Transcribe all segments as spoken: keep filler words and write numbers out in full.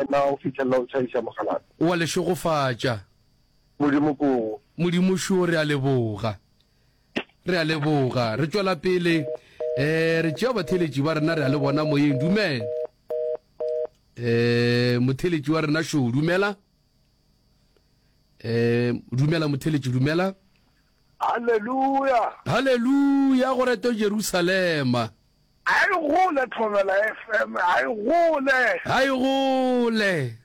wena go fihlelela o tšhaiša mogalabi. Wa le šegofatša. Modimo ko. Modimo šo, re a leboga. Re a leboga. Re tšwela pele, eh, re tšea batheeletši ba rena, re a le bona moyeng. Dumela. Eh, motheeletši wa rena šo, dumela. Eh, dumela motheeletši, dumela. Haleluya. Haleluya, go reto Jerusalema. A e gole Thobela F M, a e gole. A e gole.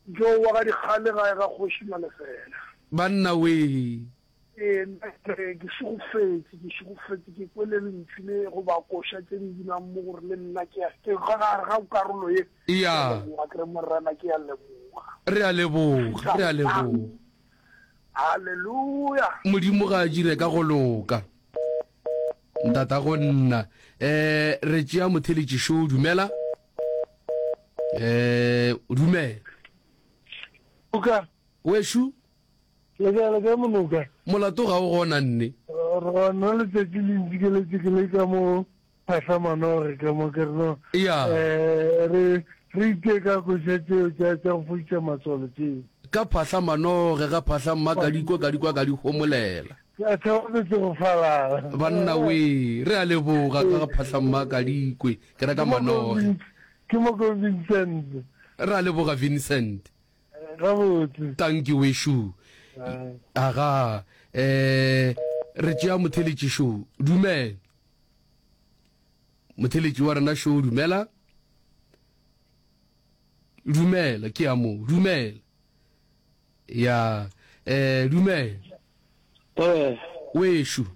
Joe wa ga Dikgale gae ga Kgoši Malefela. Banna wee. Ee, nna ke re ke šegofetše, ke šegofetše, ke kwele lentšu le goba koša tše di binang mo gore le nna ke ya, ke ka gare ga karolo ye. Ke a leboga, ke re Morena ke a leboga. Re a leboga, re a leboga. Haleluya. Modimo ga a dire ka go loka. Ntatago nna. Eh, re tšea motheletši šo, dumela. Eh, dumela. Monoka. Wešo. Le kae, le kae Monoka? Molato ga o gona nne. Re gona letšatši le ntšikeletše ke le ka mo Phahla Manoge ka mo ke re no. Ya. Eh, re re itee ka koša tšeo tša tša go fodiša matswalo tšeo. Ka Phahla Manoge ga Phahla mma ka di kwa ka di kwa ka di homolela. Ka theogetše go falala. Banna wee, re a leboga ka ga Phahla mma ka di kwe ke reka Manoge. Ke mo ko Vincent. Re a leboga Vincent. Gabotse. Tanki wešo. Aga, eh, re tšea motheletši šo. Dumela. Motheletši wa rena šo, dumela. Dumela, ke ya mo. Dumela. Ya, eh, dumela. Eh. Wešo.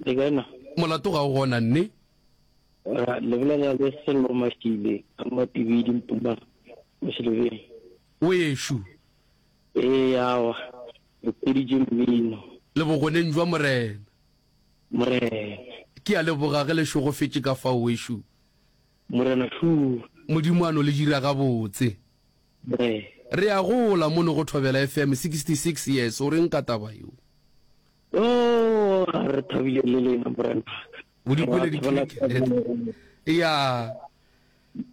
Le kae na? Molato ga o gona nne. Ra le bolela le Sello Mashile ka Matibidi Mpuma Moselebeng. Wešo. Ee, awa, re hweditše mmino. Le bogoneng jwa Morena. Morena. Ke a leboga ge le šogofetše ka fao, wešo. Morena šo. Modimo a no le dira gabotse. Morena. Re a gola mono go Thobela F M, sixty six years, o reng ka taba yeo? Oh, re thabile le lena, Morena. O di kwele di Ya.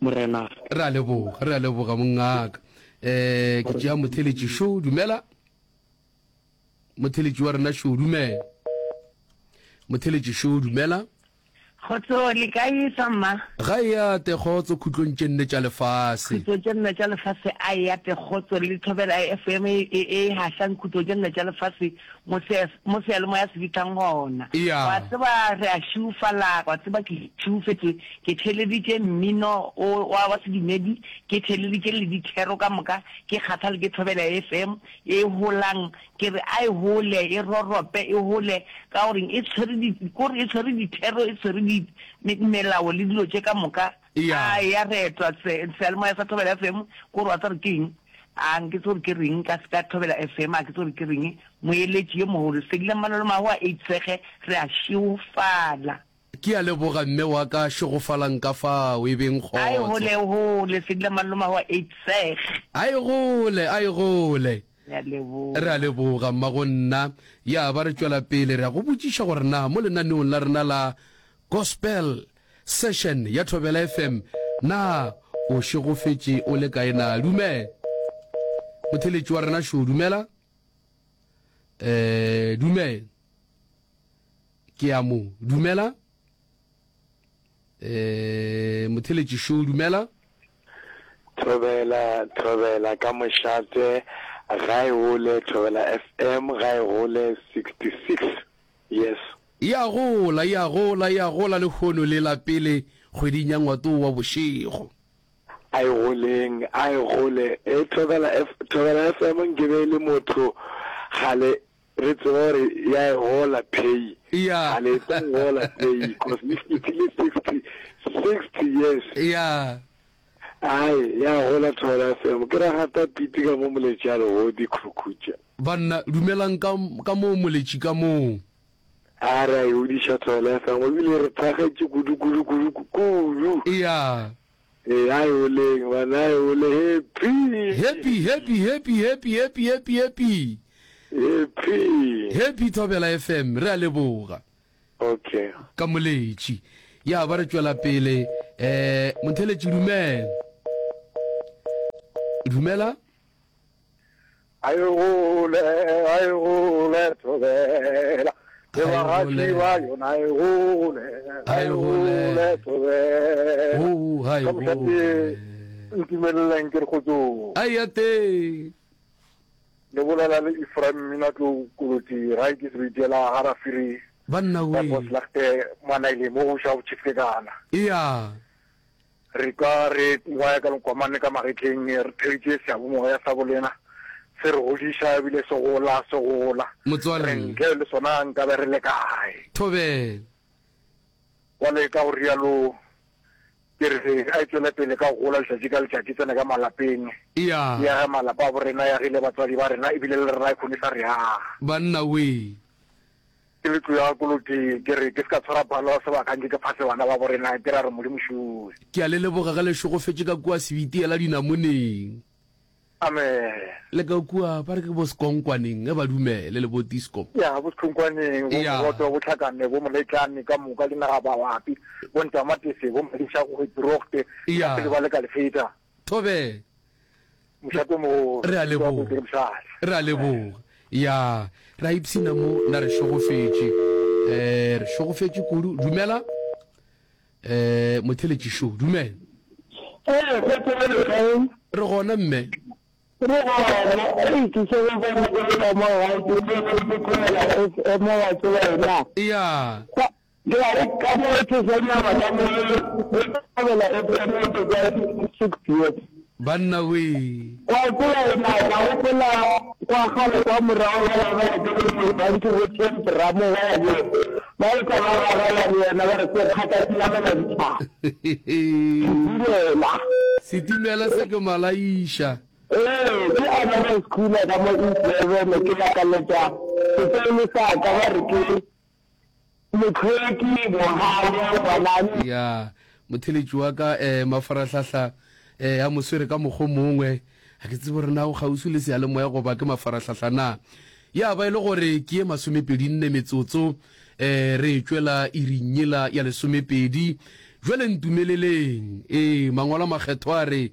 Morena. Re a leboga, re a leboga mongaka. Eh, ke tšea motheletši šo, dumela. Motheletši wa rena šo, dumela. Motheletši šo, dumela. Kgotso, le kae sa mma? Ga e ate kgotso khutlong tše nne tša lefase. Khutlo tše nne tša lefase a e ate kgotso le Thobela F M e e hašang khutlo tše nne tša lefase mo se mo seyalemoya se fihlang gona. Eya. Wa tseba re a šiufala, wa tseba ke šiufetše, ke theeleditše mmino o wa wa sedumedi, ke theeleditše le dithero ka moka, ke kgathale ke Thobela F M e holang Ke re a e hole, e rorope, e hole, ka gore e tshwere di, kore e tshwere dithero, e tshwere di, me, melao le dilo tše ka moka. Eya. A ya retwa, se, seyalemoya sa Thobela F M, kore wa tseba gore ke eng? A nke tsebe gore ke reng ka, ka Thobela F M, a ke tsebe gore ke reng. Moeletši yo mogolo, Sedila Mmalolo Mahu a eitshege, re a šeofala. Ke a leboga mme wa ka, šegofalang ka fao, e beng A e kgotso. hole, e hole, Sedila Mmalolo Mahu a eitshege. A e gole, a e gole. Re a leboga. Re a leboga, mmagonna. Ya ba re tšwela pele, re a go botšiša gore na mo lenaneong la rena la Gospel Session ya Thobela F M, na o šegofetše o le kae na? Dumela. Motheeletši wa rena šo, dumela. Eh, dumela. Ke a mo dumela. Eh, motheeletši šo, dumela. Thobela, Thobela ka mošate, ga e gole, Thobela F M ga e gole sixty six years. E a gola, e a gola, e a gola lehono le la pele kgweding ya Ngwato wa bošego. A e goleng, a e gole. E Thobela F, Thobela F M nke be e le motho kgale re tseba gore ya e gola pay. Ya. Kgale e tla gola pay, cause e fetile sixty, sixty years. Ya. Ai, ya gola Thobela F M. Ke ra gata piti ka mo moletši a legodi khukhutša. Banna, dumelang ka, ka moo moletši ka moo. A re a e godiša Thobela F M, ebile re thakgetše kudu, kudu, kudu, kudu. Ya. Ee, a e goleng, bana, a e gole. Happy. Happy, happy, happy, happy, happy, happy, happy. Happy. Happy Thobela F M, re a leboga. Okay. Ka moletši. Ya ba re tšwela pele. Eh, motheletši dumela. Dumela. A e gole, a e gole Thobela. Le bagatši ba yona a e gole, a e gole Thobela. Oh, a e Ka mošate gole. ntumeleleng ke re kgotsong. A ya teng. Le bolela le Ephraim Mminatlou Koloti gae ke Sebitiela ga Rafiri Banna ka wee. Boslagte Manaile mo go Shabu Chief Kekana. Eya. Re kwa re ngwaya ka lekomane ka magetleng, re theetše seabomoya sa bolena se re godiša ebile se gola, se gola. Motswalle. Re ntle le sona nkabe re le kae? Thobela. Bjale ka go rialo ke re a e tšwele pele ka go gola letšatši ka letšatši, tsene ka malapeng, Eya. e age malapa a borena, e agile batswadi ba rena ebile le rena e kgone sa re aga. Banna wee. Ke le tlo ya Koloti, ke re ke se ka tshwara palo sebaka nke ke phase bana ba borena, ke ra re Modimo šue. Ke a le leboga ge le šegofetše ka kua Sebitiela dinamoneng. Amen. Le ka kua ba re ke bo Sekonkwaneng ge ba dumele le bo Tiskom. Ya, bo Sekhonkwaneng, bo Ya. Mogoto, bo Tlhakane, bo Moletlane ka moka dinagababapi, bo Ntamatese, bo Madiša, go Hwetirogte, Ya. le ba le ka lefeta. Thobela. Mošate o mogolo. Re a leboga. Ke mošate. Re a leboga. Ya, re a ipshina mo, na re šegofetše. Eh, re šegofetše kudu. Dumela. Eh, motheletši šo, dumela. Ee, go tsebe le Re gona mme. Re gona. Ei, ke šegofetše ke le ka mo gae, ke le ke Thobela F M wa tseba yena. Ya. Ka, ke a re ka mo Thesanyana ka mo le Thobela F M ke ka six years. Banna wee. Wa tseba yena, ka gopola kwa kgale kwa morago ba ba ba ke le bantši bo Champ Ramo ba ya le ba e ka ba ba ba le yena ba re se kgata se namela dithaba. Setimela. Setimela se ke malaiša. Ee, ke another schooler ka mo East Durban, ke lakaletša sekolo sa ka ba re ke Motlhweki Mohale ngwanane. Ya, motheletši wa ka eh, mafarahlahla eh, a mo swere ka mokgo mongwe. Ga ke tsebe gore na o kgauswi le seyalemoya goba ke mafarahlahla na. Ya ba e le gore ke ye masomepedi nne metsotso eh, re e tšwela iring yela ya lesomepedi. Jwale ntumeleleng. Ee, mangwalo a makgethwa a re,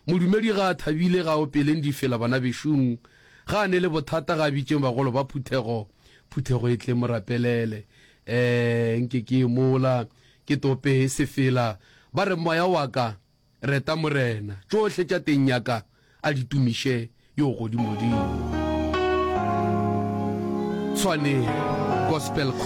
Modumedi ga a thabile ga a opeleng difela bana bešung. Ga a ne le bothata ga a bitšeng bagolo ba phuthego, phuthego e tle mo rapelele. Eh, nke ke ye mola, ke tope sefela. Ba re moya wa ka, reta Morena. Tšohle tša teng ya ka, a di tumiše yo godimodimo. Tshwane Gospel Choir.